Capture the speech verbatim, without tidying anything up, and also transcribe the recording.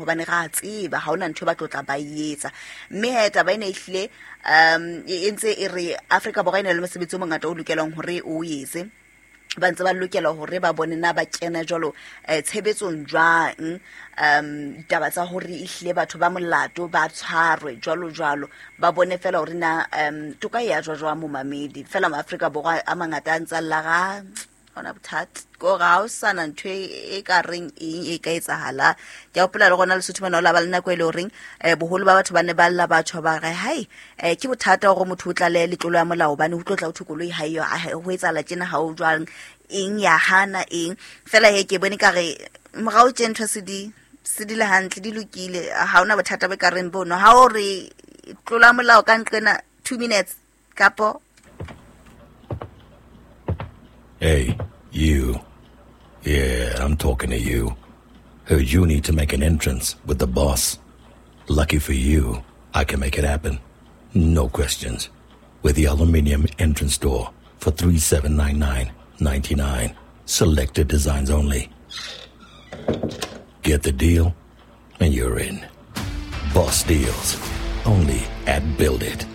Hobane ra tseba ha hona ntho e ba tlo tla ba e etsa. Mme he taba ena ehlile um e e ntse e re Afrika Borwa e na le mosebetsi o mongata o lokelang hore o etse. Ba ntse ba lokela hore ba bone na ba kena jwalo eh, tshebetsong jwang, um ditaba tsa hore ehlile batho ba molato ba tshwarwe jwalo jwalo, ba bone fela hore na um toka e ya jwa jwang momamedi. Fela maAfrika Borwa a mangata a ntse a lla ga hona bothata ko ga o sana ntho e e ka reng eng e ka etsahala. Ke a hopola le gona Lesotho mona o la ba le nako e le horeng um boholo ba batho ba ne ba lla batho ba re hai um ke bothata hore motho o tlale letlolo ya molao hobane ho tlo tla ho thwe koloi ha eyo, ha- ho etsahala tjena ha o jwang eng ya hana eng. Fela he ke bone ka re morao tje ntho se di se di le hantle, di lokile, ha hona bothata bo ka reng bono. Ha o re tlola molao ka nqena two minutes kapo. Hey, you. Yeah, I'm talking to you. Heard you need to make an entrance with the boss. Lucky for you, I can make it happen. No questions. With the aluminium entrance door for three seven nine nine ninety nine. Selected designs only. Get the deal, and you're in. Boss deals. Only at Build It.